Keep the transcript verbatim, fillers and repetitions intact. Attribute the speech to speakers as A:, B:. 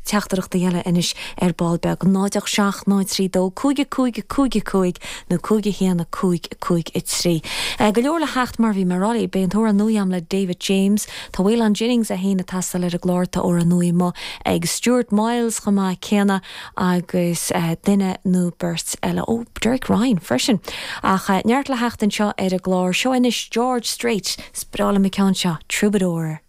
A: teachtaireachtaí eile anois ar ball beag náid seacht náid trí dó cúig cúig cúig cúig nó cúig haon cúig cúig a trí. Go leor le theacht mar bhí mé ag rá beidh an t-amhrán nua agam le David James Tá Waylon Jennings é féin ag taisteal ar an gclár tá amhrán nua ag Stuart Miles chomh maith céanna agus uh, duine nó beirt eile ó Derek Ryan freisin. Ach uh, neart le theacht anseo ar an gclár seo anois George Strait sprála me ceann seo Troubadour.